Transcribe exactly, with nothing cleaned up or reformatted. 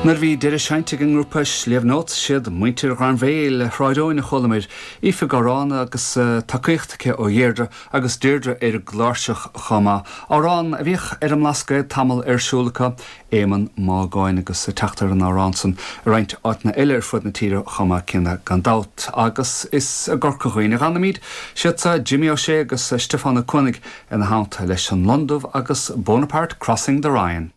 Nuair bhí deireadh seinnte ag an ngrúpa Slieve Notes siad muintir Ghairbhéil Shráid a chualamar Aoife ag amhrán agus uh, tacaíocht aici ó Dheirdre agus Deirdre ar an gcláirseach chomh maith. Amhrán a bhíodh ar an mBlascaod tamall ar siúl acu Éamonn Mágáin agus teacht ar an amhrán san i roinnt áiteanna eile ar fud na tíre chomh maith céanna gan dabht agus is i gCorca Dhuibhne a fhanfaimid siad sa Jimmy Ó Sé agus Stiofán Ó Cuanaigh ina theannta leis an Londubh agus Bonaparte Crossing the Rhine.